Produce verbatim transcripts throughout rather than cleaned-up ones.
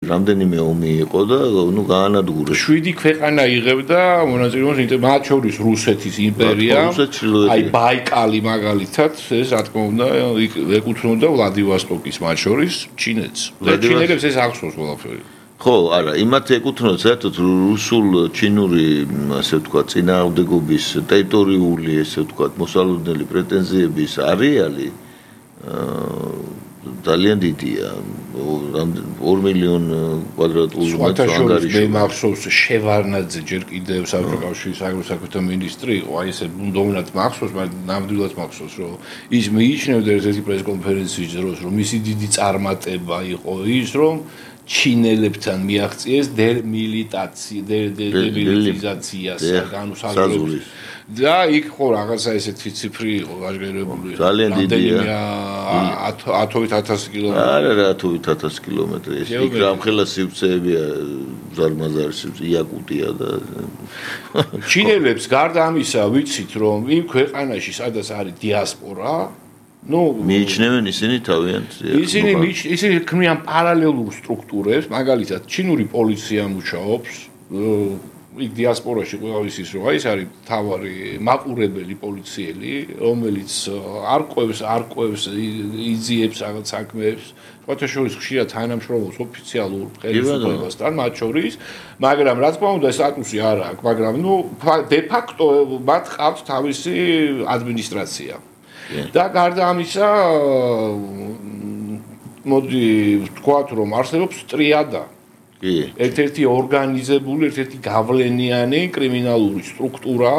რამდენიმე ომი იყო და ნუ გაანადგურეს. შვიდი ქვეყანა იღებდა მონაწილეობას, მათ შორის რუსეთის იმპერია, აი ბაიკალი მაგალითად, ეს რა თქმა უნდა, ეკუთვნოდა ვლადივოსტოკის მათ შორის ჩინეთს. და ჩინელებს ეს ახსოვს ყველაფერი. ხო, არა, იმათ ეკუთვნოდა საერთოდ რუსულ-ჩინური, ასე ვთქვათ, წინააღმდეგობის ტერიტორიული, ესე ვთქვათ, მოსალოდნელი პრეტენზიების არეალი ძალიან დიდია. ორი მილიონი კვადრატული მეტრი ანგარიში. მე მახსოვს შევარნაძე ჯერ კიდევ საერთაშორისო საქმეთა მინისტრი იყო, აი ესე ბუნდოვნად მახსოვს, მაგრამ ნამდვილად მახსოვს, რომ ის მიიჩნევდა ერთ-ერთი პრესკონფერენციის დროს, რომ მისი დიდი წარმატება იყო ის, რომ ჩინელებთან მიაღწიეს დემილიტაცია, დემილიტარიზაციას, ანუ საზღვრის. და იქ ხო რაღაცა ესეთი ციფრი იყო გაჟღერებული. ძალიან დიდია. ათობით ათასი კილომეტრი. არა, რა ათობით ათასი კილომეტრი. ეს იქ რამხელა სივრცეებია, ზარმაზარი სივრცე, იაკუტია და ჩინელებს გარდა ამისა ვიცით, რომ იმ ქვეყანაში, სადაც არის დიასპორა, ну, მიიჩნევენ ისინი თავიანთ. ისინი ისინი ქმნიან პარალელურ სტრუქტურებს, მაგალითად, ჩინური პოლიცია მუშაობს, იქ დიასპორაში ყველას ის რომ ის არის თავარი მაყურებელი პოლიციელი, რომელიც არკვევს, არკვევს, იძიებს რაღაც საქმეებს, სხვათაშორის ხშირად თანამშრომლობს ოფიციალურ ხელისუფლებასთან, მათ შორის, მაგრამ რა თქმა უნდა, სტატუსი არ აქვს, მაგრამ ну, de facto მათ ყავთ თავისი ადმინისტრაცია. და გარდა ამისა, მოდი ვთქვათ, რომ არსებობს ტრიადა. ერთ-ერთი ორგანიზებული, ერთ-ერთი გავლენიანი კრიმინალური სტრუქტურა,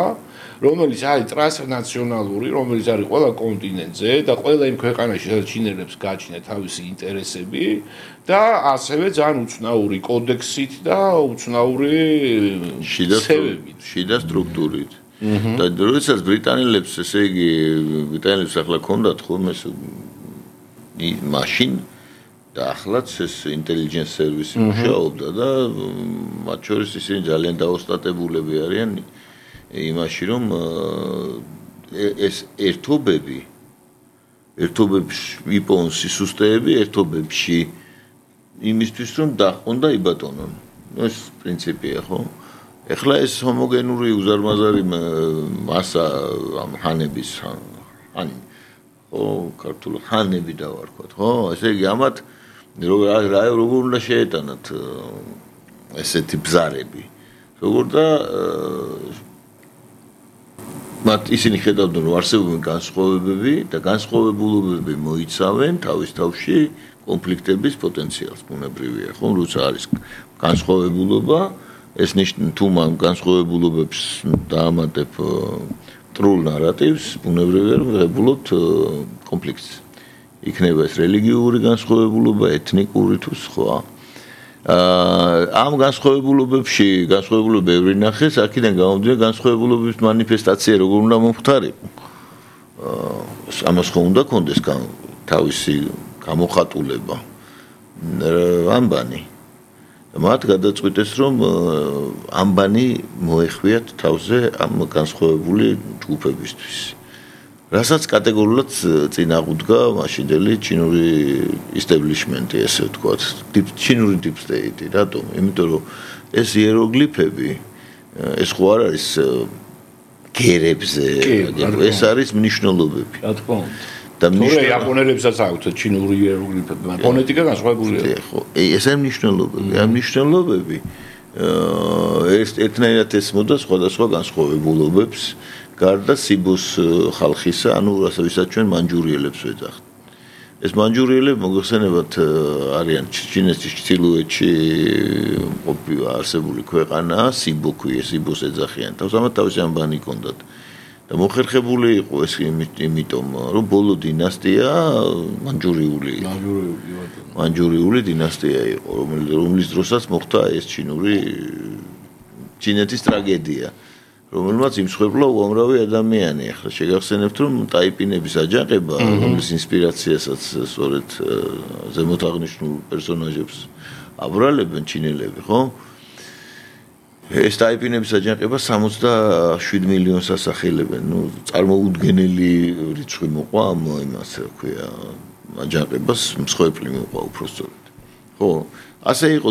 რომელიც არის ტრანსნაციონალური, რომელიც არის ყველა კონტინენტზე და ყველა იმ ქვეყანაში, სადაც ჩინელებს გააჩნიათ თავისი ინტერესები და ასევე ძალიან უცნაური კოდექსით და უცნაური ცევებით, შიდა სტრუქტურით. და როდესაც ბრიტანელებს, ესე იგი, ბრიტანელებს ახლა ქონდათ ხოლმე მაშინ და ახლაც ეს intelligence service მუშაობდა და მათ შორის ისინი ძალიან დაოსტატებულები არიან იმაში, რომ ეს ერთობები ერთობებში იპოვონ სისუსტეები ერთობებში იმისთვის, რომ დაყონ და იბატონონ. ეს პრინციპია, ხო? ეხლა ეს ჰომოგენური უზარმაზარი მასა ამ ჰანების ჰანი ხო, ქართულ ჰანები დავარქვათ, ხო? ესე იგი, ამათ რა როგორ უნდა შეეტანათ ესეთი ბზარები. როგორ და მათ ისინი ხედავდნენ, რომ არსებობენ განსხვავებები და განსხვავებულობები მოიცავენ თავის თავში კონფლიქტების პოტენციალს, ბუნებრივია, ხო? როცა არის განსხვავებულობა, ეს ნიშნავს თუ მან განსხვავებულობებს დაამატებ ტრულ ნარატივს, ბუნებრივია, რომ ღებულობთ კონფლიქტს. იქნება ეს რელიგიური განსხვავებულობა, ეთნიკური თუ სხვა. ამ განსხვავებულობებში, განსხვავებულობები ბევრი ნახეს, აქედან გამომდინარე განსხვავებულობების მანიფესტაცია როგორ უნდა მომხდარიყო. ამას ხო უნდა კონდეს თავისი გამოხატულება. ამბანი მათ გადაწყვიტეს, რომ ამბანი მოეხვიათ თავზე ამ განსხვავებული ჯგუფებისთვის. რასაც კატეგორიულად წინააღმდგა მაშინდელი ჩინური establishment-ი, ესე ვთქვათ, ჩინური deep state-ი, რატომ? იმიტომ რომ ეს იეროგლიფები, ეს ხო არ არის გერებზე, ეს არის მნიშვნელობები. რა თქმა უნდა. და თორე იაპონელებსაც აქვთ ჩინური იეროგლიფები, მაგრამ ფონეტიკა განსხვავებულია. ხო, ეს არის მნიშვნელობები, ამ მნიშვნელობები ეს ერთნაირად ესმოდა სხვადასხვა განსხვავებულობებს, გარდა სიბოს ხალხისა, ანუ რასაც ჩვენ მანჯურიელებს ვეძახთ. ეს მანჯურიელები მოგეხსენებათ არიან ჩინეთის ჩრდილოეთში არსებული ქვეყანა, სიბო ქვია, სიბოს ეძახიან. თავს ამათ თავისი ამბანი ჰქონდათ. და მოხერხებული იყო ეს იმიტომ, რომ ბოლო დინასტია მანჯურიული იყო. მანჯურიული დინასტია იყო, რომლის დროსაც მოხდა ეს ჩინური ჩინეთის ტრაგედია, რომელმაც იმსხვერპლა უამრავი ადამიანი. ახლა შეგახსენებთ, რომ ტაიპინების აჯანყება, რომლის ინსპირაციასაც სწორედ ზემოთ აღნიშნულ პერსონაჟებს აბრალებენ ჩინელები, ხო? ეს ტაიპინების აჯანყება სამოცდაშვიდ მილიონს ასახელებენ. ნუ წარმოუდგენელი რიცხვი მოყვა ამ იმას, რა ქვია, აჯანყებას მსხვერპლი მოყვა უფრო სწორედ. ხო, ასე იყო